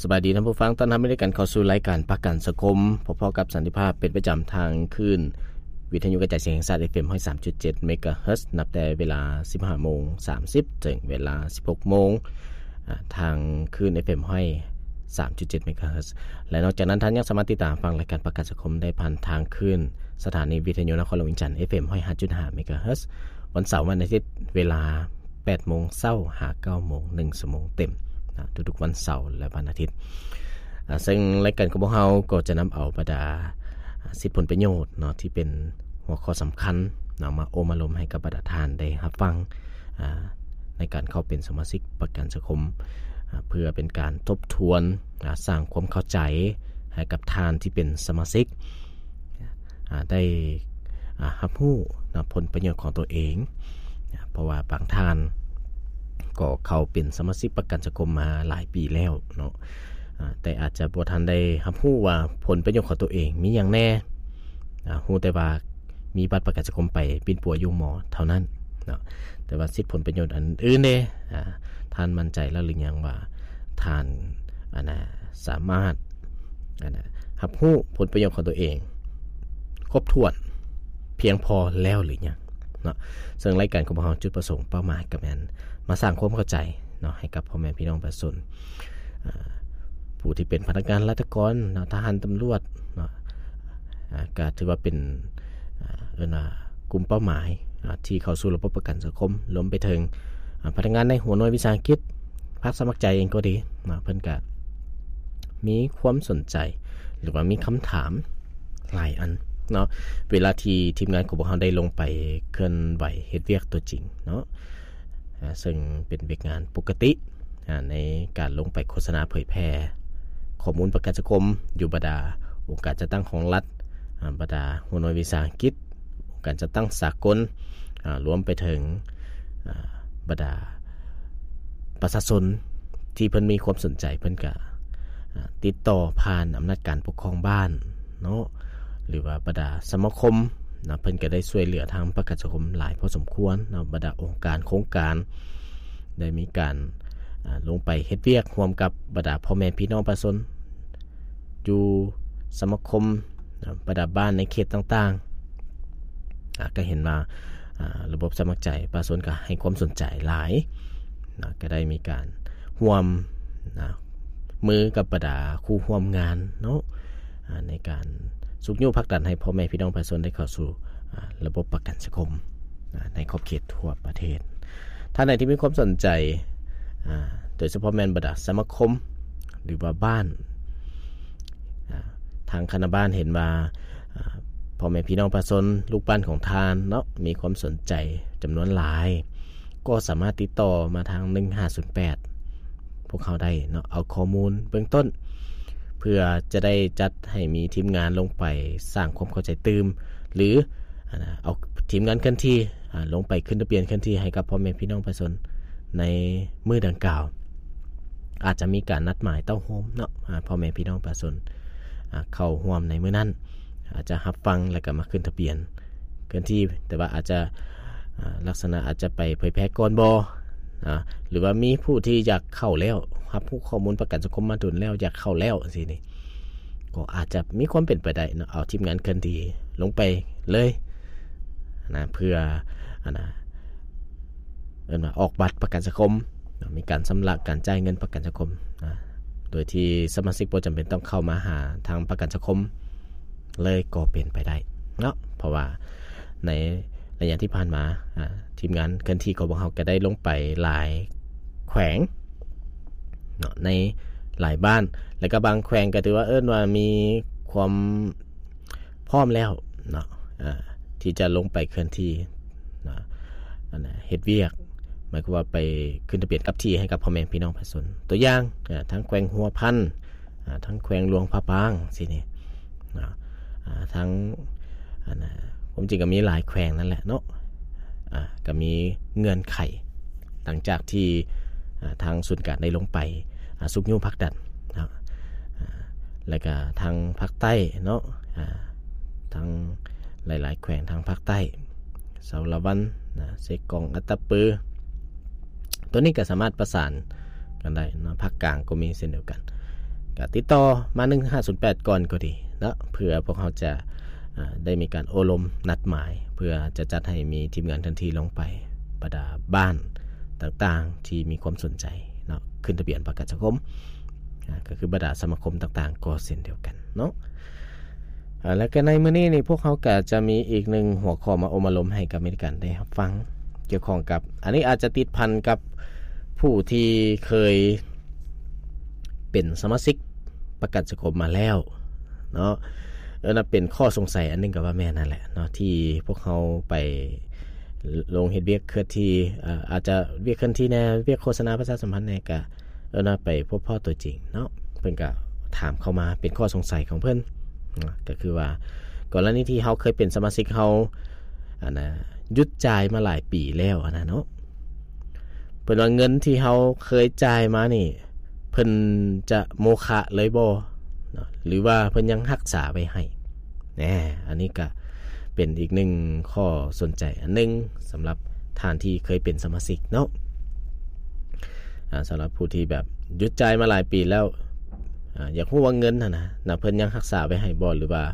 ສະບາຍດີທ່ານຜູ້ຟັງ, ຕ້ອນຮັບໃຫ້ກັນເຂົ້າສູ່ລາຍການປະກັນສັງຄົມ ພົບພໍ້ກັບສັນຕິພາບເປັນປະຈຳທາງຄື້ນວິທະຍຸກະຈາຍສຽງແຫ່ງຊາດ ເອັຟເອັມ ຮ້ອຍສາມຈຸດເຈັດ ເມກາເຮີດ ນັບແຕ່ເວລາ ສິບຫ້າໂມງສາມສິບ ເຖິງເວລາ ສິບຫົກໂມງ ອາ ທາງຄື້ນ ເອັຟເອັມ ຮ້ອຍສາມຈຸດເຈັດ ເມກາເຮີດ ແລະ ນອກຈາກນັ້ນທ່ານຍັງສາມາດຕິດຕາມຟັງລາຍການປະກັນສັງຄົມໄດ້ຜ່ານທາງຄື້ນສະຖານີວິທະຍຸນະຄອນຫຼວງວຽງຈັນ ເອັຟເອັມ ຮ້ອຍຫ້າຈຸດຫ້າ ເມກາເຮີດ ວັນເສົາ ວັນອາທິດ ເວລາ ແປດໂມງເຊົ້າຫາເກົ້າໂມງ ໜຶ່ງຊົ່ວໂມງເຕັມນະ ທຸກໆວັນເສົາ ແລະ ວັນອາທິດ. ອາ ເຊິ່ງລາຍການຂອງພວກເຮົາກໍຈະນຳເອົາບັນດາ ອາ ສິດຜົນປະໂຫຍດເນາະ ທີ່ເປັນຫົວຂໍ້ສຳຄັນເນາະ ມາໂອ້ມາລົມໃຫ້ກັບບັນດາທ່ານໄດ້ຮັບຟັງ ອາ ໃນການເຂົ້າເປັນສະມາຊິກປະກັນສັງຄົມ ອາ ເພື່ອເປັນການທົບທວນ ອາ ສ້າງຄວາມເຂົ້າໃຈໃຫ້ກັບທ່ານທີ່ເປັນສະມາຊິກ ອາ ໄດ້ ອາ ຮັບຮູ້ນະ ຜົນປະໂຫຍດຂອງຕົວເອງ ເພາະວ່າບາງທ່ານກໍເຂົ້າເປັນສະມາຊິກປະກັນສັງຄົມມາຫຼາຍປີແລ້ວເນາະ ອາ ແຕ່ອາດຈະບໍ່ທັນໄດ້ຮັບຮູ້ວ່າຜົນປະໂຫຍດຂອງຕົວເອງມີຫຍັງແດ່ ອາ ຮູ້ແຕ່ວ່າມີບັດປະກັນສັງຄົມໄປປິ່ນປົວຢູ່ໝໍເທົ່ານັ້ນເນາະ ແຕ່ວ່າສິດຜົນປະໂຫຍດອັນອື່ນເດ ອາ ທ່ານໝັ້ນໃຈແລ້ວຫຼືຍັງວ່າທ່ານ ອັນນະ ສາມາດ ອັນນະ ຮັບຮູ້ຜົນປະໂຫຍດຂອງຕົວເອງຄົບຖ້ວນພຽງພໍແລ້ວຫຼືຍັງເນາະ. ເຊິ່ງລາຍການຂອງພວກເຮົາ ຈຸດປະສົງເປົ້າໝາຍກໍແມ່ນມາສ້າງຄວາມເຂົ້າໃຈເນາະ ໃຫ້ກັບພໍ່ແມ່ພີ່ນ້ອງປະຊາຊົນ ອາ ຜູ້ທີ່ເປັນພະນັກງານລັດຖະກອນເນາະ ທະຫານ ຕຳຫຼວດເນາະ ອາ ກໍຖືວ່າເປັນ ອາ ເອີ້ນວ່າກຸ່ມເປົ້າໝາຍ ອາ ທີ່ເຂົ້າສູ່ລະບົບປະກັນສັງຄົມ ລວມໄປເຖິງ ອາ ພະນັກງານໃນຫົວໜ່ວຍວິສາຫະກິດ ພາກສະໝັກໃຈເອງກໍດີເນາະ ເພິ່ນກະມີຄວາມສົນໃຈ ຫຼືວ່າມີຄຳຖາມຫຼາຍອັນເນາະ ເວລາທີ່ທີມງານຂອງພວກເຮົາໄດ້ລົງໄປເຄື່ອນໄຫວເຮັດວຽກຕົວຈິງເນາະ ອາ ເຊິ່ງເປັນວຽກງານປົກກະຕິ ອາ ໃນການລົງໄປໂຄສະນາເຜີຍແຜ່ຂໍ້ມູນປະກັນສັງຄົມ ຢູ່ບັນດາອົງການຈັດຕັ້ງຂອງລັດ ອາ ບັນດາຫົວໜ່ວຍວິສາຫະກິດ ອົງການຈັດຕັ້ງສາກົນ ອາ ລວມໄປເຖິງ ອາ ບັນດາປະຊາຊົນທີ່ເພິ່ນມີຄວາມສົນໃຈ ເພິ່ນກະ ອາ ຕິດຕໍ່ຜ່ານອຳນາດການປົກຄອງບ້ານເນາະ ຫຼືວ່າບັນດາສະມາຄົມເນາະ ເພິ່ນກະໄດ້ຊ່ວຍເຫຼືອທາງປະກັນສັງຄົມຫຼາຍພໍສົມຄວນເນາະ ບັນດາອົງການໂຄງການ ໄດ້ມີການ ອາ ລົງໄປເຮັດວຽກຮ່ວມກັບບັນດາພໍ່ແມ່ພີ່ນ້ອງປະຊາຊົນ ຢູ່ສະມາຄົມ ນະ ບັນດາບ້ານໃນເຂດຕ່າງໆ ອາ ກໍເຫັນວ່າ ອາ ລະບົບສະໝັກໃຈປະຊາຊົນກໍໃຫ້ຄວາມສົນໃຈຫຼາຍນະ ກໍໄດ້ມີການຮ່ວມນະມືກັບບັນດາຄູ່ຮ່ວມງານເນາະ ອາ ໃນການຊຸກຍູ້ຜັກດັນໃຫ້ພໍ່ແມ່ພີ່ນ້ອງປະຊາຊົນໄດ້ເຂົ້າສູ່ ອາ ລະບົບປະກັນສັງຄົມ ອາ ໃນຂອບເຂດທົ່ວປະເທດ. ທ່ານໃດທີ່ມີຄວາມສົນໃຈ ອາ ໂດຍສະເພາະແມ່ນບັນດາສະມາຄົມ ຫຼືວ່າບ້ານ ອາ ທາງຄະນະບ້ານເຫັນວ່າ ອາ ພໍ່ແມ່ພີ່ນ້ອງປະຊາຊົນ ລູກບ້ານຂອງທ່ານເນາະ ມີຄວາມສົນໃຈຈຳນວນຫຼາຍ ກໍສາມາດຕິດຕໍ່ມາທາງ ໜຶ່ງຫ້າສູນແປດ ພວກເຮົາໄດ້ເນາະ ເອົາຂໍ້ມູນເບື້ອງຕົ້ນ ເພື່ອຈະໄດ້ຈັດໃຫ້ມີທີມງານລົງໄປສ້າງຄວາມເຂົ້າໃຈຕື່ມ ຫຼື ອາ ເອົາທີມງານເຄື່ອນທີ່ ອາ ລົງໄປຂຶ້ນທະບຽນເຄື່ອນທີ່ໃຫ້ກັບພໍ່ແມ່ພີ່ນ້ອງປະຊາຊົນໃນມື້ດັ່ງກ່າວ. ອາດຈະມີການນັດໝາຍເຕົ້າໂຮມເນາະ ອາ ພໍ່ແມ່ພີ່ນ້ອງປະຊາຊົນ ອາ ເຂົ້າຮ່ວມໃນມື້ນັ້ນ ອາດຈະຮັບຟັງ ແລ້ວກໍມາຂຶ້ນທະບຽນເຄື່ອນທີ່ ແຕ່ວ່າອາດຈະ ອາ ລັກສະນະອາດຈະໄປເຜີຍແຜ່ກ່ອນບໍ ອາ ຫຼືວ່າມີຜູ້ທີ່ຢາກເຂົ້າແລ້ວ ຮັບຮູ້ຂໍ້ມູນປະກັນສັງຄົມມາດົນແລ້ວ ຢາກເຂົ້າແລ້ວ ຈັ່ງຊີ້ນີ້ ກໍອາດຈະມີຄວາມເປັນໄປໄດ້ເນາະ ເອົາທີມງານເຄື່ອນທີ່ລົງໄປເລີຍນະ ເພື່ອ ອັນນະ ເອີ້ນວ່າອອກບັດປະກັນສັງຄົມເນາະ ມີການຊຳລະການຈ່າຍເງິນປະກັນສັງຄົມນະ ໂດຍທີ່ສະມາຊິກບໍ່ຈຳເປັນຕ້ອງເຂົ້າມາຫາທາງປະກັນສັງຄົມເລີຍກໍເປັນໄປໄດ້ເນາະ ເພາະວ່າໃນໄລຍະທີ່ຜ່ານມາ ອາ ທີມງານເຄື່ອນທີ່ຂອງພວກເຮົາກໍໄດ້ລົງໄປຫຼາຍແຂວງເນາະ ໃນຫຼາຍບ້ານ ແລ້ວກໍບາງແຂວງກໍຖືວ່າ ເອີ້ນວ່າມີຄວາມ ພ້ອມແລ້ວເນາະ ເອີ ທີ່ຈະລົງໄປເຄື່ອນທີ່ເນາະ ອັນນະ ເຮັດວຽກ ໝາຍຄວາມວ່າໄປຂຶ້ນທະບຽນກັບທີ່ໃຫ້ກັບພໍ່ແມ່ພີ່ນ້ອງປະຊາຊົນ ຕົວຢ່າງ ເອີ ທາງແຂວງຫົວພັນ ເອີ ທາງແຂວງຫຼວງພະບາງ ຊີ້ນີ້ເນາະ ເອີ ທາງ ອັນນະ ຄວາມຈິງກໍມີຫຼາຍແຂວງນັ້ນແຫຼະເນາະ ເອີ ກໍມີເງື່ອນໄຂ ຫຼັງຈາກທີ່ ເອີ ທາງສູນກາງໄດ້ລົງໄປ ອາ ຊຸກຍູ້ຜັກດັນເນາະ ອາ ແລ້ວກະທາງພາກໃຕ້ເນາະ ອາ ທາງຫຼາຍໆແຂວງທາງພາກໃຕ້ ສາລະວັນນະ ເຊກອງ ອັດຕະປື ຕົວນີ້ກະສາມາດປະສານກັນໄດ້ເນາະ ພາກກາງກໍມີເຊັ່ນດຽວກັນ ກະຕິດຕໍ່ມາ ໜຶ່ງຫ້າສູນແປດ ກ່ອນກໍດີເນາະ ເພື່ອພວກເຮົາຈະ ອາ ໄດ້ມີການໂອ້ລົມນັດໝາຍ ເພື່ອຈະຈັດໃຫ້ມີທີມງານເຄື່ອນທີ່ລົງໄປ ບັນດາບ້ານຕ່າງໆທີ່ມີຄວາມສົນໃຈເນາະ ຂຶ້ນທະບຽນປະກັນສັງຄົມ ອາ ກໍຄືບັນດາສະມາຄົມຕ່າງໆກໍເຊັ່ນດຽວກັນເນາະ. ອາ ແລະກໍໃນມື້ນີ້ນີ້ ພວກເຮົາກໍຈະມີອີກໜຶ່ງຫົວຂໍ້ມາອົບມາລົມໃຫ້ກັບມີການໄດ້ຮັບຟັງ ກ່ຽວຂ້ອງກັບ ອັນນີ້ອາດຈະຕິດພັນກັບຜູ້ທີ່ເຄີຍເປັນສະມາຊິກປະກັນສັງຄົມມາແລ້ວເນາະ. ເອີ ນັ້ນເປັນຂໍ້ສົງໄສອັນໜຶ່ງກໍວ່າແມ່ນນັ້ນແຫຼະເນາະ ທີ່ພວກເຮົາໄປລົງເຮັດວຽກເຄື່ອນທີ່ ເອີ ອາດຈະວຽກເຄື່ອນທີ່ແດ່ ວຽກໂຄສະນາປະຊາສຳພັນແດ່ ກະ ເອີ ໄປພົບພໍ້ຕົວຈິງເນາະ ເພິ່ນກະຖາມເຂົ້າມາເປັນຂໍ້ສົງໄສຂອງເພິ່ນເນາະ ກໍຄືວ່າ ກໍລະນີທີ່ເຮົາເຄີຍເປັນສະມາຊິກ ເຮົາ ອັນນ່າ ຢຸດຈ່າຍມາຫຼາຍປີແລ້ວ ອັນນັ້ນເນາະ ເພິ່ນວ່າເງິນທີ່ເຮົາເຄີຍຈ່າຍມານີ້ ເພິ່ນຈະໂມຄະເລີຍບໍ່ເນາະ ຫຼືວ່າເພິ່ນຍັງຮັກສາໄວ້ໃຫ້? ແນ່ ອັນນີ້ກະເປັນອີກໜຶ່ງຂໍ້ສົນໃຈອັນໜຶ່ງ ສຳລັບທ່ານທີ່ເຄີຍເປັນສະມາຊິກເນາະ. ອາ ສຳລັບຜູ້ທີ່ແບບຢຸດຈ່າຍມາຫຼາຍປີແລ້ວ ອາ ຢາກຮູ້ວ່າເງິນຫັ້ນນະ ນະ ເພິ່ນຍັງຮັກສາໄວ້ໃຫ້ບໍ່ ຫຼືວ່າ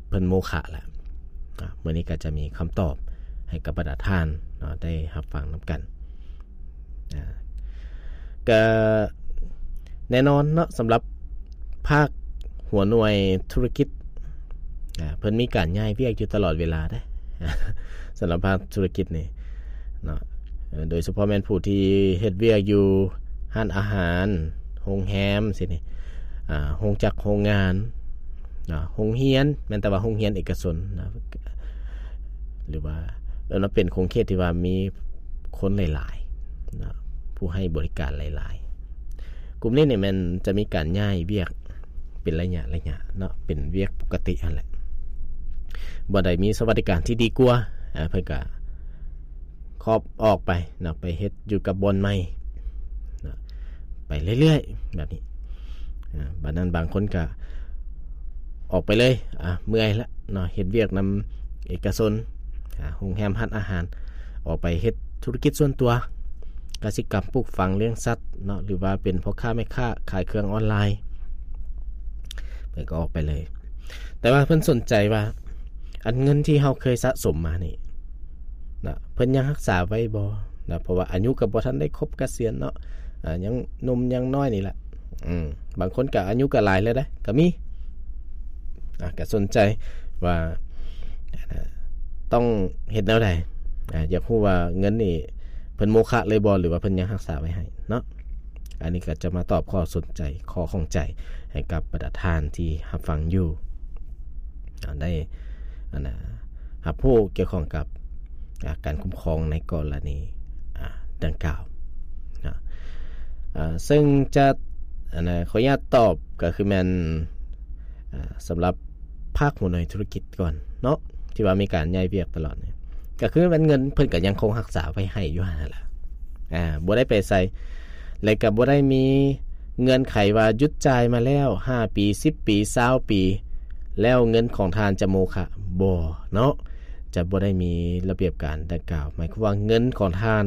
ເພິ່ນໂມຄະແລ້ວ? ອາ ມື້ນີ້ກໍຈະມີຄຳຕອບໃຫ້ກັບບັນດາທ່ານເນາະ ໄດ້ຮັບຟັງນຳກັນ. ອາ ກະແນ່ນອນເນາະ ສຳລັບພາກຫົວໜ່ວຍທຸລະກິດ ອາ ເພິ່ນມີການຍ້າຍວຽກຢູ່ຕະຫຼອດເວລາເດ້ ສຳລັບພາກທຸລະກິດນີ້ເນາະ ເອີ ໂດຍສະເພາະແມ່ນຜູ້ທີ່ເຮັດວຽກຢູ່ຮ້ານອາຫານ ໂຮງແຮມຊີ້ນີ້ ອາ ໂຮງຈັກໂຮງງານ ອາ ໂຮງຮຽນ ແມ່ນແຕ່ວ່າໂຮງຮຽນເອກະຊົນນະ ຫຼືວ່າ ເອີ ເປັນຂົງເຂດທີ່ວ່າມີຄົນຫຼາຍໆນະ ຜູ້ໃຫ້ບໍລິການຫຼາຍໆ ກຸ່ມນີ້ນີ້ແມ່ນຈະມີການຍ້າຍວຽກເປັນໄລຍະໆເນາະ ເປັນວຽກປົກກະຕິຫັ້ນແຫຼະ ບໍ່ໄດ້ມີສະຫວັດດີການທີ່ດີກວ່າ ອາ ເພິ່ນກະຂອບອອກໄປເນາະ ໄປເຮັດຢູ່ກັບບ່ອນໃໝ່ເນາະ ໄປເລື້ອຍໆແບບນີ້. ອາ ບາດນັ້ນບາງຄົນກະອອກໄປເລີຍ ອາ ເມື່ອຍລະເນາະ ເຮັດວຽກນຳເອກະຊົນ ອາ ໂຮງແຮມ ຮ້ານອາຫານ ອອກໄປເຮັດທຸລະກິດສ່ວນຕົວ ກະສິກຳ ປູກຝັງ ລ້ຽງສັດເນາະ ຫຼືວ່າເປັນພໍ່ຄ້າແມ່ຄ້າຂາຍເຄື່ອງອອນລາຍ ເພິ່ນກໍອອກໄປເລີຍ. ແຕ່ວ່າເພິ່ນສົນໃຈວ່າ ອັນເງິນທີ່ເຮົາເຄີຍສະສົມມານີ້ນະ ເພິ່ນຍັງຮັກສາໄວ້ບໍ່ນະ ເພາະວ່າອາຍຸກໍບໍ່ທັນໄດ້ຄົບກະສຽນເນາະ ອາ ຍັງໜຸ່ມຍັງນ້ອຍນີ້ແຫຼະ ອືມ ບາງຄົນກໍອາຍຸກໍຫຼາຍແລ້ວເດ້ ກໍມີ ອາ ກໍສົນໃຈວ່າ ອາ ຕ້ອງເຮັດແນວໃດ ອາ ຢາກຮູ້ວ່າເງິນນີ້ເພິ່ນໂມຄະເລີຍບໍ່ ຫຼືວ່າເພິ່ນຍັງຮັກສາໄວ້ໃຫ້ເນາະ. ອັນນີ້ກໍຈະມາຕອບຂໍ້ສົນໃຈ ຂໍ້ຂ້ອງໃຈໃຫ້ກັບບັນດາທ່ານທີ່ຮັບຟັງຢູ່ ອາ ໄດ້ ອັນນ່າ ຮັບຮູ້ກ່ຽວຂ້ອງກັບ ອາ ການຄຸ້ມຄອງໃນກໍລະນີ ອາ ດັ່ງກ່າວເນາະ ອາ ເຊິ່ງຈະ ອັນນ່າ ຂໍອະນຸຍາດຕອບກໍຄືແມ່ນ ອາ ສຳລັບພາກຫົວໜ່ວຍທຸລະກິດກ່ອນເນາະ ທີ່ວ່າມີການຍ້າຍວຽກຕະຫຼອດນີ້ ກໍຄືແມ່ນເງິນເພິ່ນກໍຍັງຄົງຮັກສາໄວ້ໃຫ້ຢູ່ຫັ້ນແຫຼະ ອາ ບໍ່ໄດ້ໄປໃສ ແລະກໍບໍ່ໄດ້ມີເງື່ອນໄຂວ່າຢຸດຈ່າຍມາແລ້ວຫ້າປີ ສິບປີ ຊາວປີ ແລ້ວເງິນຂອງທ່ານຈະໂມຄະ ບໍ່ເນາະ ຈະບໍ່ໄດ້ມີລະບຽບການດັ່ງກ່າວ. ໝາຍຄວາມວ່າເງິນຂອງທ່ານ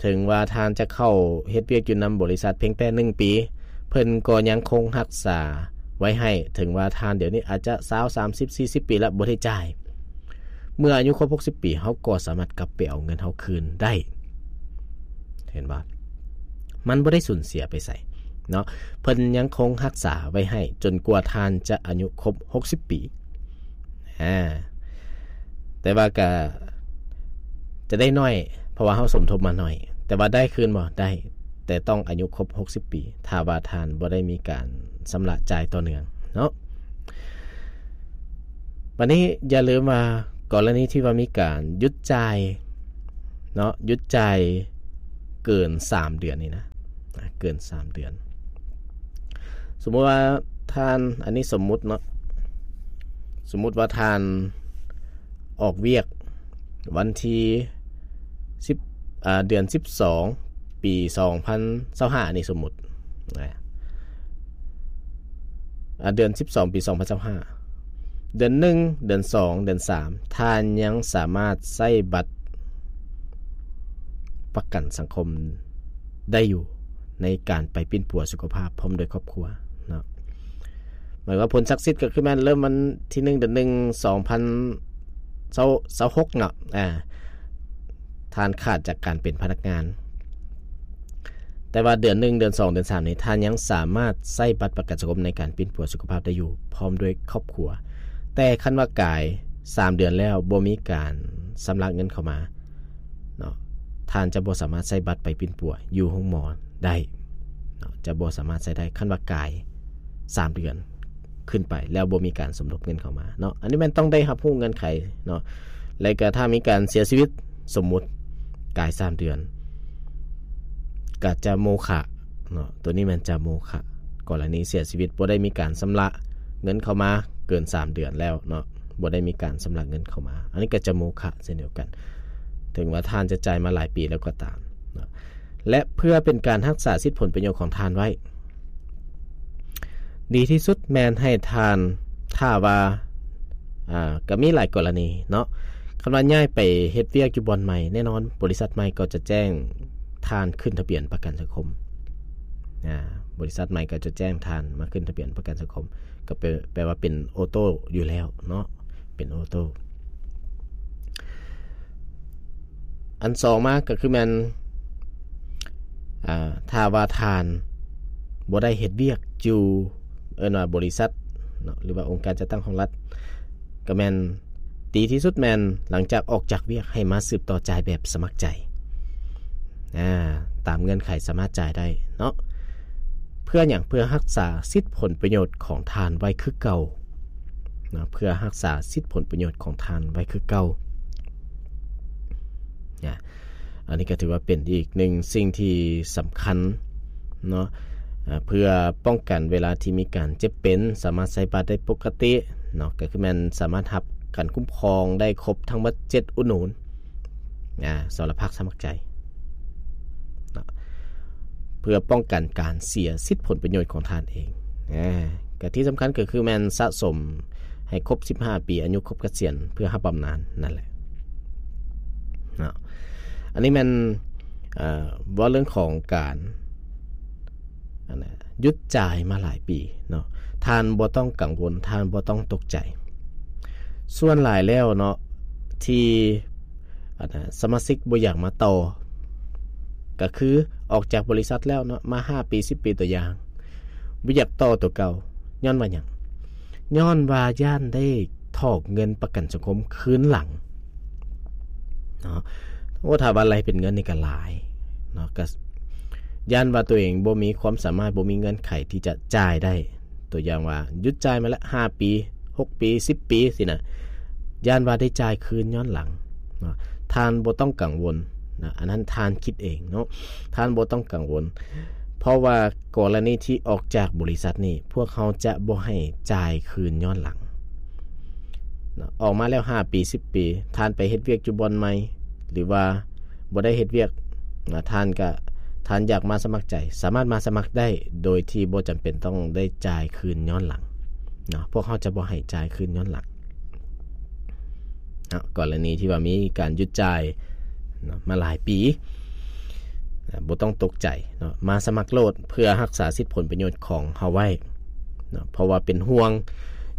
ເຖິງວ່າທ່ານຈະເຂົ້າເຮັດວຽກຢູ່ນຳບໍລິສັດພຽງແຕ່ໜຶ່ງປີ ເພິ່ນກໍຍັງຄົງຮັກສາໄວ້ໃຫ້ ເຖິງວ່າທ່ານດຽວນີ້ອາດຈະຊາວ ສາມສິບ ສີ່ສິບປີແລ້ວບໍ່ໄດ້ຈ່າຍ ເມື່ອອາຍຸຄົບຫົກສິບປີ ເຮົາກໍສາມາດກັບໄປເອົາເງິນເຮົາຄືນໄດ້ ເຫັນບໍ່? ມັນບໍ່ໄດ້ສູນເສຍໄປໃສເນາະ ເພິ່ນຍັງຄົງຮັກສາໄວ້ໃຫ້ຈົນກວ່າທ່ານຈະອາຍຸຄົບຫົກສິບປີ ອາ ແຕ່ວ່າກະຈະໄດ້ໜ້ອຍ ເພາະວ່າເຮົາສົມທົບມາໜ້ອຍ ແຕ່ວ່າໄດ້ຄືນບໍ່? ໄດ້ ແຕ່ຕ້ອງອາຍຸຄົບຫົກສິບປີ ຖ້າວ່າທ່ານບໍ່ໄດ້ມີການຊຳລະຈ່າຍຕໍ່ເນື່ອງເນາະ. ບັດນີ້ຢ່າລືມວ່າ ກໍລະນີທີ່ວ່າມີການຢຸດຈ່າຍເນາະ ຢຸດຈ່າຍເກີນສາມເດືອນນີ້ນະ ອາ ເກີນສາມເດືອນ ສົມມຸດວ່າທ່ານ ອັນນີ້ສົມມຸດເນາະ ສົມມຸດວ່າທ່ານອອກວຽກວັນທີສິບ ອາ ເດືອນສິບສອງ ປີສອງພັນຊາວຫ້າ ອັນນີ້ສົມມຸດນະ ອາ ເດືອນສິບສອງ ປີສອງພັນຊາວຫ້າ ເດືອນໜຶ່ງ ເດືອນສອງ ເດືອນສາມ ທ່ານຍັງສາມາດໃຊ້ບັດປະກັນສັງຄົມໄດ້ຢູ່ ໃນການໄປປິ່ນປົວສຸຂະພາບພ້ອມດ້ວຍຄອບຄົວເນາະ. ໝາຍວ່າຜົນສັກສິດກໍຄືແມ່ນເລີ່ມວັນທີໜຶ່ງ ເດືອນໜຶ່ງ ສອງພັນຊາວຫົກເນາະ ອາ ທ່ານຂາດຈາກການເປັນພະນັກງານ ແຕ່ວ່າເດືອນໜຶ່ງ ເດືອນສອງ ເດືອນສາມນີ້ ທ່ານຍັງສາມາດໃຊ້ບັດປະກັນສັງຄົມໃນການປິ່ນປົວສຸຂະພາບໄດ້ຢູ່ ພ້ອມດ້ວຍຄອບຄົວ. ແຕ່ຄັນວ່າກາຍສາມເດືອນແລ້ວ ບໍ່ມີການຊຳລະເງິນເຂົ້າມາເນາະ ທ່ານຈະບໍ່ສາມາດໃຊ້ບັດໄປປິ່ນປົວຢູ່ໂຮງໝໍໄດ້ເນາະ ຈະບໍ່ສາມາດໃຊ້ໄດ້ ຄັນວ່າກາຍສາມເດືອນຂຶ້ນໄປ ແລ້ວບໍ່ມີການສົມທົບເງິນເຂົ້າມາເນາະ. ອັນນີ້ແມ່ນຕ້ອງໄດ້ຮັບຮູ້ເງື່ອນໄຂເນາະ ແລະກະຖ້າມີການເສຍຊີວິດ ສົມມຸດກາຍສາມເດືອນ ກະຈະໂມຄະເນາະ ໂຕນີ້ແມ່ນຈະໂມຄະ. ກໍລະນີເສຍຊີວິດ ບໍ່ໄດ້ມີການຊຳລະເງິນເຂົ້າມາເກີນສາມເດືອນແລ້ວເນາະ ບໍ່ໄດ້ມີການຊຳລະເງິນເຂົ້າມາ ອັນນີ້ກໍຈະໂມຄະເຊັ່ນດຽວກັນ ເຖິງວ່າທ່ານຈະຈ່າຍມາຫຼາຍປີແລ້ວກໍຕາມເນາະ. ແລະເພື່ອເປັນການຮັກສາສິດຜົນປະໂຫຍດຂອງທ່ານໄວ້ ດີທີ່ສຸດແມ່ນໃຫ້ທ່ານ ຖ້າວ່າ ອາ ກໍມີຫຼາຍກໍລະນີເນາະ ຄັນວ່າຍ້າຍໄປເຮັດວຽກຢູ່ບ່ອນໃໝ່ ແນ່ນອນບໍລິສັດໃໝ່ກໍຈະແຈ້ງທ່ານຂຶ້ນທະບຽນປະກັນສັງຄົມ ອາ ບໍລິສັດໃໝ່ກໍຈະແຈ້ງທ່ານມາຂຶ້ນທະບຽນປະກັນສັງຄົມ ກໍແປ ແປວ່າເປັນໂອໂຕ້ຢູ່ແລ້ວເນາະ ເປັນໂອໂຕ້. ອັນສອງມາກໍຄືແມ່ນ ອາ ຖ້າວ່າທ່ານບໍ່ໄດ້ເຮັດວຽກຢູ່ ເອີ້ນວ່າບໍລິສັດເນາະ ຫຼືວ່າອົງການຈັດຕັ້ງຂອງລັດ ກໍແມ່ນດີທີ່ສຸດແມ່ນຫຼັງຈາກອອກຈາກວຽກໃຫ້ມາສືບຕໍ່ຈ່າຍແບບສະໝັກໃຈ ອາ ຕາມເງື່ອນໄຂສາມາດຈ່າຍໄດ້ເນາະ. ເພື່ອຫຍັງ? ເພື່ອຮັກສາສິດຜົນປະໂຫຍດຂອງທ່ານໄວ້ຄືເກົ່າ ນະ ເພື່ອຮັກສາສິດຜົນປະໂຫຍດຂອງທ່ານໄວ້ຄືເກົ່າ ນະ. ອັນນີ້ກໍຖືວ່າເປັນອີກໜຶ່ງສິ່ງທີ່ສຳຄັນເນາະ ອາ ເພື່ອປ້ອງກັນເວລາທີ່ມີການເຈັບເປັນ ສາມາດໃຊ້ບັດໄດ້ປົກກະຕິເນາະ ກໍຄືແມ່ນສາມາດຮັບການຄຸ້ມຄອງໄດ້ຄົບທັງໝົດເຈັດອຸດໜູນ ອາ ສຳລັບພາກສະໝັກໃຈເນາະ ເພື່ອປ້ອງກັນການເສຍສິດຜົນປະໂຫຍດຂອງທ່ານເອງ ອາ ກະທີ່ສຳຄັນກໍຄືແມ່ນສະສົມໃຫ້ຄົບສິບຫ້າປີ ອາຍຸຄົບກະສຽນ ເພື່ອຮັບບຳນານນັ້ນແຫຼະເນາະ. ອັນນີ້ແມ່ນ ເອີ ເວົ້າເລື່ອງຂອງການ ອັນນະ ຢຸດຈ່າຍມາຫຼາຍປີເນາະ ທ່ານບໍ່ຕ້ອງກັງວົນ ທ່ານບໍ່ຕ້ອງຕົກໃຈ. ສ່ວນຫຼາຍແລ້ວເນາະ ທີ່ ອັນນະ ສະມາຊິກບໍ່ຢາກມາຕໍ່ ກໍຄືອອກຈາກບໍລິສັດແລ້ວເນາະ ມາຫ້າປີ ສິບປີ ຕົວຢ່າງ ບໍ່ຢາກຕໍ່ຕົວເກົ່າ ຍ້ອນວ່າຫຍັງ? ຍ້ອນວ່າຢ້ານໄດ້ຖອກເງິນປະກັນສັງຄົມຄືນຫຼັງເນາະ. ໂອ້ ຖ້າວ່າໄລ່ເປັນເງິນນີ້ກໍຫຼາຍເນາະ ກໍຢ້ານວ່າຕົວເອງບໍ່ມີຄວາມສາມາດ ບໍ່ມີເງື່ອນໄຂທີ່ຈະຈ່າຍໄດ້ ຕົວຢ່າງວ່າຢຸດຈ່າຍມາລະຫ້າປີ ຫົກປີ ສິບປີ ຊີ້ນະ ຢ້ານວ່າໄດ້ຈ່າຍຄືນຍ້ອນຫຼັງເນາະ. ທ່ານບໍ່ຕ້ອງກັງວົນນະ ອັນນັ້ນທ່ານຄິດເອງເນາະ ທ່ານບໍ່ຕ້ອງກັງວົນ ເພາະວ່າກໍລະນີທີ່ອອກຈາກບໍລິສັດນີ້ ພວກເຮົາຈະບໍ່ໃຫ້ຈ່າຍຄືນຍ້ອນຫຼັງເນາະ. ອອກມາແລ້ວຫ້າປີ ສິບປີ ທ່ານໄປເຮັດວຽກຢູ່ບ່ອນໃໝ່ ຫຼືວ່າບໍ່ໄດ້ເຮັດວຽກນະ ທ່ານກະ ທ່ານຢາກມາສະໝັກໃຈ ສາມາດມາສະໝັກໄດ້ ໂດຍທີ່ບໍ່ຈຳເປັນຕ້ອງໄດ້ຈ່າຍຄືນຍ້ອນຫຼັງເນາະ ພວກເຮົາຈະບໍ່ໃຫ້ຈ່າຍຄືນຍ້ອນຫຼັງເນາະ. ກໍລະນີທີ່ວ່າມີການຢຸດຈ່າຍເນາະ ມາຫຼາຍປີ ນະ ບໍ່ຕ້ອງຕົກໃຈເນາະ ມາສະໝັກໂລດ ເພື່ອຮັກສາສິດຜົນປະໂຫຍດຂອງເຮົາໄວ້ເນາະ ເພາະວ່າເປັນຫ່ວງ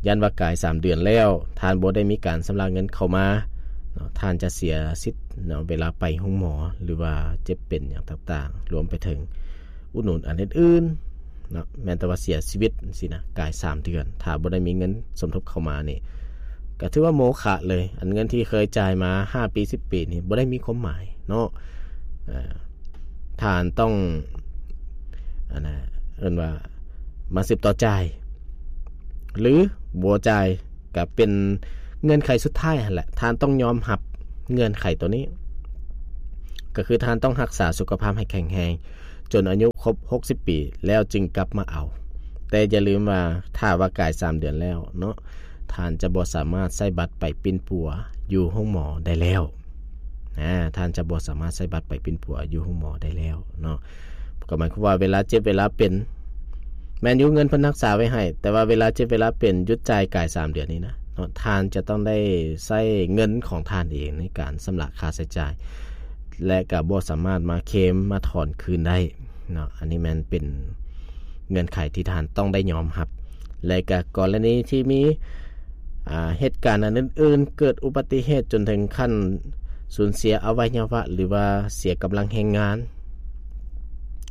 ຢ້ານວ່າກາຍສາມເດືອນແລ້ວ ທ່ານບໍ່ໄດ້ມີການຊຳລະເງິນເຂົ້າມາເນາະ ທ່ານຈະເສຍສິດເນາະ ເວລາໄປໂຮງໝໍ ຫຼືວ່າເຈັບເປັນຫຍັງຕ່າງໆ ລວມໄປເຖິງອຸດໜູນອັນອື່ນໆເນາະ. ແມ່ນແຕ່ວ່າເສຍຊີວິດຊີ້ນະ ກາຍສາມເດືອນ ຖ້າບໍ່ໄດ້ມີເງິນສົມທົບເຂົ້າມານີ້ ກໍຖືວ່າໂມຄະເລີຍ ອັນເງິນທີ່ເຄີຍຈ່າຍມາຫ້າປີ ສິບປີນີ້ ບໍ່ໄດ້ມີຄວາມໝາຍເນາະ. ເອີ ທ່ານຕ້ອງ ອັນນະ ເອີ້ນວ່າມາສືບຕໍ່ຈ່າຍ ຫຼືບໍ່ຈ່າຍ ກໍເປັນເງື່ອນໄຂສຸດທ້າຍຫັ້ນແຫຼະ ທ່ານຕ້ອງຍອມຮັບເງື່ອນໄຂໂຕນີ້ ກໍຄືທ່ານຕ້ອງຮັກສາສຸຂະພາບໃຫ້ແຂງແຮງ ຈົນອາຍຸຄົບຫົກສິບປີ ແລ້ວຈຶ່ງກັບມາເອົາ. ແຕ່ຢ່າລືມວ່າ ຖ້າວ່າກາຍສາມເດືອນແລ້ວເນາະ ທ່ານຈະບໍ່ສາມາດໃຊ້ບັດໄປປິ່ນປົວຢູ່ໂຮງໝໍໄດ້ແລ້ວ. ອາ ທ່ານຈະບໍ່ສາມາດໃຊ້ບັດໄປປິ່ນປົວຢູ່ໂຮງໝໍໄດ້ແລ້ວເນາະ. ກໍໝາຍຄວາມວ່າເວລາເຈັບເວລາເປັນ ແມ່ນຢູ່ເງິນເພິ່ນຮັກສາໄວ້ໃຫ້ ແຕ່ວ່າເວລາເຈັບເວລາເປັນ ຢຸດຈ່າຍກາຍສາມເດືອນນີ້ນະເນາະ ທ່ານຈະຕ້ອງໄດ້ໃຊ້ເງິນຂອງທ່ານເອງໃນການຊຳລະຄ່າໃຊ້ຈ່າຍ ແລະ ກໍບໍ່ສາມາດມາເຄມມາຖອນຄືນໄດ້ເນາະ. ອັນນີ້ແມ່ນເປັນເງື່ອນໄຂທີ່ທ່ານຕ້ອງໄດ້ຍອມຮັບ. ແລະກໍກໍລະນີທີ່ມີ ອ່າ ເຫດການອັນອື່ນໆ ເກີດອຸບັດຕິເຫດຈົນເຖິງຂັ້ນສູນເສຍອະໄວຍະວະ ຫຼືວ່າເສຍກຳລັງແຮງງານ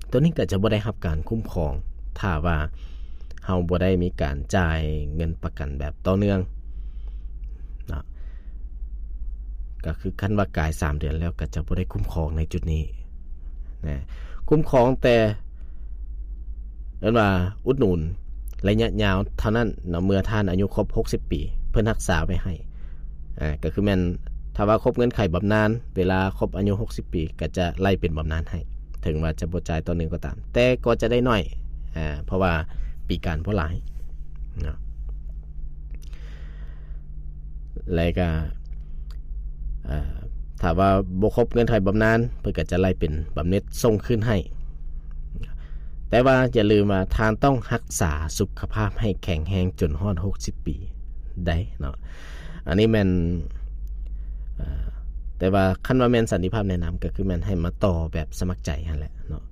ໂຕນີ້ກໍຈະບໍ່ໄດ້ຮັບການຄຸ້ມຄອງ ຖ້າວ່າເຮົາບໍ່ໄດ້ມີການຈ່າຍເງິນປະກັນແບບຕໍ່ເນື່ອງເນາະ. ກໍຄືຄັນວ່າກາຍສາມເດືອນແລ້ວ ກໍຈະບໍ່ໄດ້ຄຸ້ມຄອງໃນຈຸດນີ້ນະ ຄຸ້ມຄອງແຕ່ ເອີ້ນວ່າອຸດໜູນໄລຍະຍາວເທົ່ານັ້ນເນາະ ເມື່ອທ່ານອາຍຸຄົບຫົກສິບປີ ເພິ່ນຮັກສາໄວ້ໃຫ້ ອ່າ ກໍຄືແມ່ນ ຖ້າວ່າຄົບເງື່ອນໄຂບຳນານ ເວລາຄົບອາຍຸຫົກສິບປີ ກໍຈະໄລ່ເປັນບຳນານໃຫ້ ເຖິງວ່າຈະບໍ່ຈ່າຍຕໍ່ເນື່ອງກໍຕາມ ແຕ່ກໍຈະໄດ້ໜ້ອຍ ອ່າ ເພາະວ່າປີການບໍ່ຫຼາຍເນາະ. ແລະກະ ເອີ ຖ້າວ່າບໍ່ຄົບເງື່ອນໄຂບຳນານ ເພິ່ນກໍຈະໄລ່ເປັນບຳເໜັດສົ່ງຄືນໃຫ້. ແຕ່ວ່າຢ່າລືມວ່າທ່ານຕ້ອງຮັກສາສຸຂະພາບໃຫ້ແຂງແຮງຈົນຮອດຫົກສິບປີໄດ້ເນາະ. ອັນນີ້ແມ່ນ ເອີ ແຕ່ວ່າຄັນວ່າແມ່ນສັນຕິພາບແນະນຳ ກໍຄືແມ່ນໃຫ້ມາຕໍ່ແບບສະໝັກໃຈຫັ້ນແຫຼະເນາະ.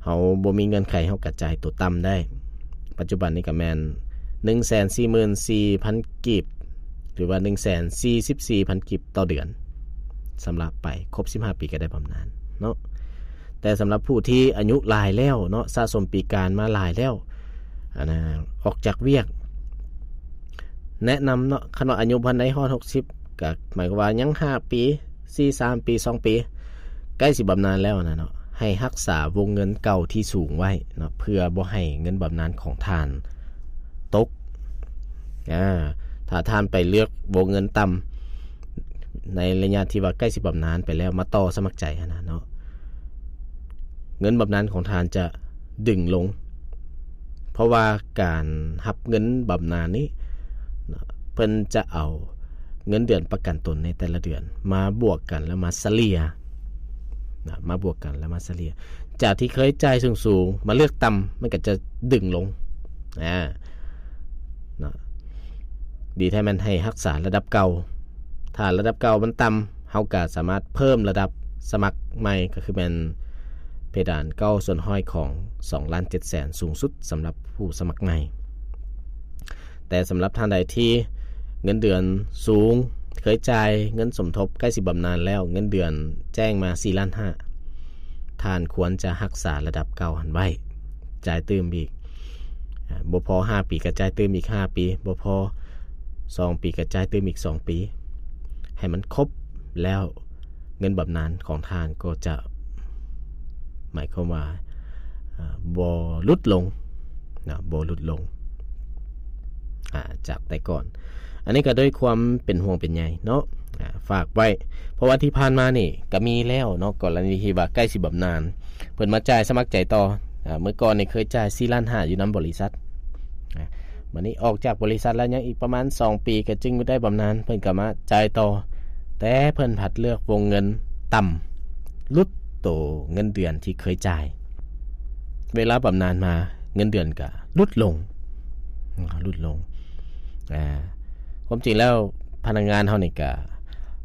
ເຮົາບໍ່ມີເງື່ອນໄຂ ເຮົາກະຈ່າຍໂຕຕ່ຳໄດ້. ປັດຈຸບັນນີ້ກະແມ່ນໜຶ່ງແສນສີ່ໝື່ນສີ່ພັນກີບ ຫຼືວ່າໜຶ່ງແສນສີ່ສິບສີ່ພັນກີບຕໍ່ເດືອນ ຊຳລະໄປ ຄົບສິບຫ້າປີກະໄດ້ບຳນານເນາະ. ແຕ່ສຳລັບຜູ້ທີ່ອາຍຸຫຼາຍແລ້ວເນາະ ສະສົມປີການມາຫຼາຍແລ້ວ ອັນນະ ອອກຈາກວຽກ ແນະນຳເນາະ ຄັນວ່າອາຍຸບໍ່ທັນໄດ້ຮອດຫົກສິບ ກະໝາຍຄວາມວ່າຍັງຫ້າປີ ສີ່ ສາມປີ ສອງປີ ໃກ້ຊິບຳນານແລ້ວນະເນາະ ໃຫ້ຮັກສາວົງເງິນເກົ່າທີ່ສູງໄວ້ເນາະ ເພື່ອບໍ່ໃຫ້ເງິນບຳນານຂອງທ່ານຕົກ. ອາ ຖ້າທ່ານໄປເລືອກວົງເງິນຕ່ຳ ໃນໄລຍະທີ່ວ່າໃກ້ຊິບຳນານໄປແລ້ວ ມາຕໍ່ສະໝັກໃຈຫັ້ນນະເນາະ ເງິນບຳນານຂອງທ່ານຈະດຶງລົງ ເພາະວ່າການຮັບເງິນບຳນານນີ້ ເພິ່ນຈະເອົາເງິນເດືອນປະກັນຕົນໃນແຕ່ລະເດືອນມາບວກກັນ ແລ້ວມາສະເລ່ຍນະ ມາບວກກັນ ແລ້ວມາສະເລ່ຍ ຈາກທີ່ເຄີຍຈ່າຍສູງໆ ມາເລືອກຕ່ຳ ມັນກໍຈະດຶງລົງ ອາ ນະ ດີແທ້ແມ່ນໃຫ້ຮັກສາລະດັບເກົ່າ. ຖ້າລະດັບເກົ່າມັນຕ່ຳ ເຮົາກະສາມາດເພີ່ມລະດັບສະໝັກໃໝ່ ກໍຄືແມ່ນເພດານເກົ້າສ່ວນຮ້ອຍຂອງສອງລ້ານເຈັດແສນ ສູງສຸດສຳລັບຜູ້ສະໝັກໃໝ່. ແຕ່ສຳລັບທ່ານໃດທີ່ເງິນເດືອນສູງ ເຄີຍຈ່າຍເງິນສົມທົບໃກ້ຊິບຳນານແລ້ວ ເງິນເດືອນແຈ້ງມາສີ່ລ້ານຫ້າ ທ່ານຄວນຈະຮັກສາລະດັບເກົ່າຫັ້ນໄວ້ ຈ່າຍຕື່ມອີກ ອາ ບໍ່ພໍຫ້າປີກໍຈ່າຍຕື່ມອີກຫ້າປີ ບໍ່ພໍສອງປີກໍຈ່າຍຕື່ມອີກສອງປີ ໃຫ້ມັນຄົບແລ້ວ ເງິນບຳນານຂອງທ່ານກໍຈະ ໝາຍຄວາມວ່າ ອາ ບໍ່ຫຼຸດລົງນະ ບໍ່ຫຼຸດລົງ ອາ ຈາກແຕ່ກ່ອນ. ອັນນີ້ກໍດ້ວຍຄວາມເປັນຫ່ວງເປັນໃຍເນາະ ອາ ຝາກໄວ້ ເພາະວ່າທີ່ຜ່ານມານີ້ກໍມີແລ້ວເນາະ ກໍລະນີທີ່ວ່າໃກ້ຊິບຳນານ ເພິ່ນມາຈ່າຍສະໝັກໃຈຕໍ່ ອາ ເມື່ອກ່ອນນີ້ເຄີຍຈ່າຍສີ່ລ້ານຫ້າຢູ່ນຳບໍລິສັດ ອາ ບາດນີ້ອອກຈາກບໍລິສັດແລ້ວ ຍັງອີກປະມານສອງປີກໍຈຶ່ງໄດ້ບຳນານ ເພິ່ນກໍມາຈ່າຍຕໍ່ ແຕ່ເພິ່ນພັດເລືອກວົງເງິນຕ່ຳ ຫຼຸດໂຕເງິນເດືອນທີ່ເຄີຍຈ່າຍ ເວລາບຳນານມາ ເງິນເດືອນກໍຫຼຸດລົງ ຫຼຸດລົງ ອາ ຄວາມຈິງແລ້ວພະນັກງານເຮົານີ້ກໍ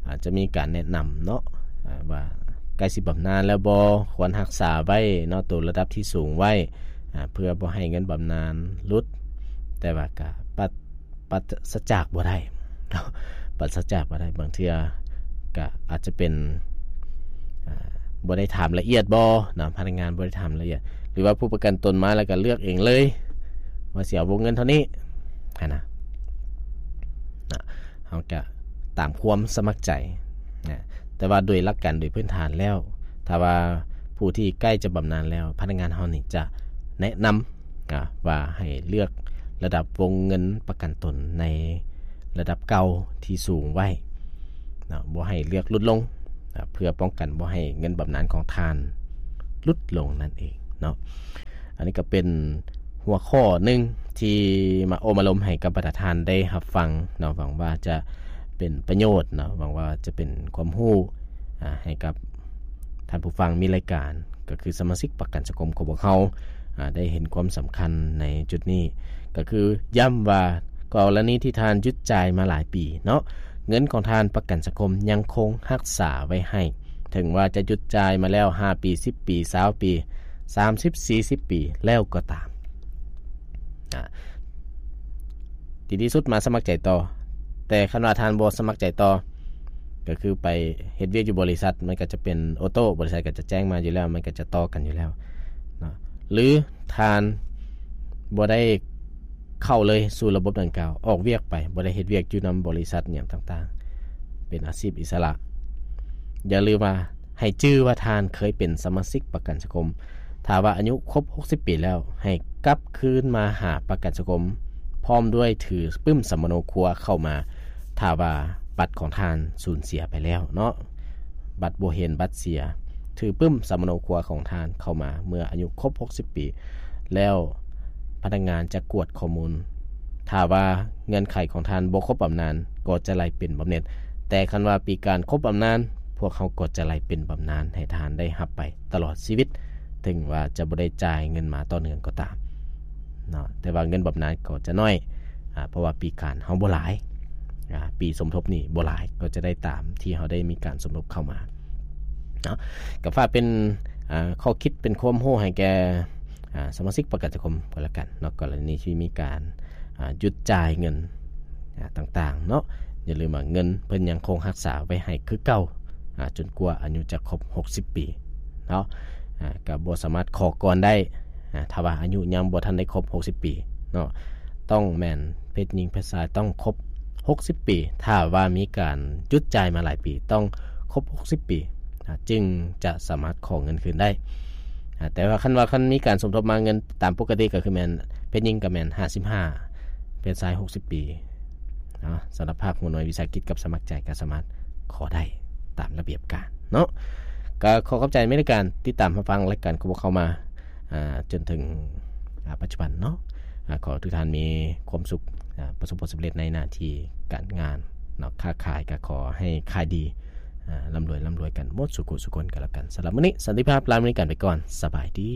ອາດຈະມີການແນະນຳເນາະ ອາ ວ່າໃກ້ຊິບຳນານແລ້ວບໍ່ ຄວນຮັກສາໄວ້ເນາະ ໂຕລະດັບທີ່ສູງໄວ້ ອາ ເພື່ອບໍ່ໃຫ້ເງິນບຳນານຫຼຸດ ແຕ່ວ່າກໍປັດ ປັດສະຈາກບໍ່ໄດ້ເນາະ ປັດສະຈາກບໍ່ໄດ້ ບາງເທື່ອກະອາດຈະເປັນ ອາ ບໍ່ໄດ້ຖາມລະອຽດບໍ່ເນາະ ພະນັກງານບໍ່ໄດ້ຖາມລະອຽດ ຫຼືວ່າຜູ້ປະກັນຕົນມາແລ້ວກະເລືອກເອງເລີຍ ວ່າຊິເອົາວົງເງິນເທົ່ານີ້ຫັ້ນນະ ເຮົາກະຕາມຄວາມສະໝັກໃຈນະ ແຕ່ວ່າໂດຍຫຼັກການໂດຍພື້ນຖານແລ້ວ ຖ້າວ່າຜູ້ທີ່ໃກ້ຈະບຳນານແລ້ວ ພະນັກງານເຮົານີ້ຈະແນະນຳ ອາ ວ່າໃຫ້ເລືອກລະດັບວົງເງິນປະກັນຕົນໃນລະດັບເກົ່າທີ່ສູງໄວ້ເນາະ ບໍ່ໃຫ້ເລືອກຫຼຸດລົງ ອາ ເພື່ອປ້ອງກັນບໍ່ໃຫ້ເງິນບຳນານຂອງທ່ານຫຼຸດລົງນັ້ນເອງເນາະ. ອັນນີ້ກໍເປັນຫົວຂໍ້ໜຶ່ງທີ່ມາໂອ້ມາລົມໃຫ້ກັບບັນດາທ່ານໄດ້ຮັບຟັງເນາະ. ຫວັງວ່າຈະເປັນປະໂຫຍດເນາະ, ຫວັງວ່າຈະເປັນຄວາມຮູ້ ອາ ໃຫ້ກັບທ່ານຜູ້ຟັງມີລາຍການ ກໍຄືສະມາຊິກປະກັນສັງຄົມຂອງພວກເຮົາ ອາ ໄດ້ເຫັນຄວາມສຳຄັນໃນຈຸດນີ້ ກໍຄືຢ້ຳວ່າ ກໍລະນີທີ່ທ່ານຢຸດຈ່າຍມາຫຼາຍປີເນາະ, ເງິນຂອງທ່ານປະກັນສັງຄົມຍັງຄົງຮັກສາໄວ້ໃຫ້, ເຖິງວ່າຈະຢຸດຈ່າຍມາແລ້ວຫ້າປີ, ສິບປີ, ຊາວປີ, ສາມສິບ, ສີ່ສິບປີແລ້ວກໍຕາມ. ອາ ທີ່ດີທີ່ສຸດມາສະໝັກໃຈຕໍ່. ແຕ່ຄັນວ່າທ່ານບໍ່ສະໝັກໃຈຕໍ່ ກໍຄືໄປເຮັດວຽກຢູ່ບໍລິສັດ ມັນກໍຈະເປັນໂອໂຕ້, ບໍລິສັດກໍຈະແຈ້ງມາຢູ່ແລ້ວ, ມັນກໍຈະຕໍ່ກັນຢູ່ແລ້ວເນາະ. ຫຼືທ່ານບໍ່ໄດ້ເຂົ້າເລີຍສູ່ລະບົບດັ່ງກ່າວ, ອອກວຽກໄປ, ບໍ່ໄດ້ເຮັດວຽກຢູ່ນຳບໍລິສັດຫຍັງຕ່າງໆ, ເປັນອາຊີບອິດສະຫຼະ. ຢ່າລືມວ່າ ໃຫ້ຈື່ວ່າທ່ານເຄີຍເປັນສະມາຊິກປະກັນສັງຄົມ. ຖ້າວ່າອາຍຸຄົບຫົກສິບປີແລ້ວ, ໃຫ້ກັບຄືນມາຫາປະກັນສັງຄົມ ພ້ອມດ້ວຍຖືປຶ້ມສຳມະໂນຄົວເຂົ້າມາ. ຖ້າວ່າບັດຂອງທ່ານສູນເສຍໄປແລ້ວເນາະ, ບັດບໍ່ເຫັນ, ບັດເສຍ, ຖືປຶ້ມສຳມະໂນຄົວຂອງທ່ານເຂົ້າມາເມື່ອອາຍຸຄົບຫົກສິບປີແລ້ວ, ພະນັກງານຈະກວດຂໍ້ມູນ. ຖ້າວ່າເງື່ອນໄຂຂອງທ່ານບໍ່ຄົບບຳນານ, ກໍຈະໄລ່ເປັນບຳເໜັດ. ແຕ່ຄັນວ່າປີການຄົບບຳນານ, ພວກເຮົາກໍຈະໄລ່ເປັນບຳນານໃຫ້ທ່ານໄດ້ຮັບໄປຕະຫຼອດຊີວິດ, ເຖິງວ່າຈະບໍ່ໄດ້ຈ່າຍເງິນມາຕໍ່ເນື່ອງກໍຕາມເນາະ, ແຕ່ວ່າເງິນບຳນານກໍຈະໜ້ອຍ, ອາ ເພາະວ່າປີການເຮົາບໍ່ຫຼາຍ, ອາ ປີສົມທົບນີ້ບໍ່ຫຼາຍ, ກໍຈະໄດ້ຕາມທີ່ເຮົາໄດ້ມີການສົມທົບເຂົ້າມາເນາະ. ກໍຝາກເປັນ ອາ ຂໍ້ຄິດ, ເປັນຄວາມຮູ້ໃຫ້ແກ່ ອາ ສະມາຊິກປະກັນສັງຄົມກໍແລ້ວກັນເນາະ, ກໍລະນີທີ່ມີການ ອາ ຢຸດຈ່າຍເງິນ ອາ ຕ່າງໆເນາະ. ຢ່າລືມວ່າເງິນເພິ່ນຍັງຄົງຮັກສາໄວ້ໃຫ້ຄືເກົ່າ ອາ ຈົນກວ່າອາຍຸຈະຄົບຫົກສິບປີເນາະ. ອາ ກໍບໍ່ສາມາດຂໍກ່ອນໄດ້ ອາ ຖ້າວ່າອາຍຸຍັງບໍ່ທັນໄດ້ຄົບຫົກສິບປີເນາະ, ຕ້ອງແມ່ນເພດຍິງເພດຊາຍຕ້ອງຄົບຫົກສິບປີ. ຖ້າວ່າມີການຢຸດຈ່າຍມາຫຼາຍປີ, ຕ້ອງຄົບຫົກສິບປີ ອາ ຈຶ່ງຈະສາມາດຂໍເງິນຄືນໄດ້. ອາ ແຕ່ວ່າຄັນວ່າ ຄັນມີການສົມທົບມາເງິນຕາມປົກກະຕິ ກໍຄືແມ່ນເພດຍິງກໍແມ່ນຫ້າສິບຫ້າ, ເພດຊາຍຫົກສິບປີເນາະ. ສຳລັບພາກຫົວໜ່ວຍວິສາຫະກິດກັບສະໝັກໃຈກໍສາມາດຂໍໄດ້ຕາມລະບຽບການເນາະ. ກໍຂໍຂອບໃຈແມ່ນໃນການຕິດຕາມຮັບຟັງລາຍການຂອງພວກເຮົາມາ ອາ ຈົນເຖິງ ອາ ປັດຈຸບັນເນາະ. ອາ ຂໍໃຫ້ທຸກທ່ານມີຄວາມສຸກ ອາ ປະສົບຜົນສຳເລັດໃນໜ້າທີ່ການງານເນາະ, ຄ້າຂາຍກໍຂໍໃຫ້ຂາຍດີ, ອາ ລ່ຳລວຍ ລ່ຳລວຍກັນໝົດສູ່ຜູ້ສູ່ຄົນກໍແລ້ວກັນ. ສຳລັບມື້ນີ້ ສັນຕິພາບ ລາແມ່ນໃນການໄປກ່ອນ. ສະບາຍດີ.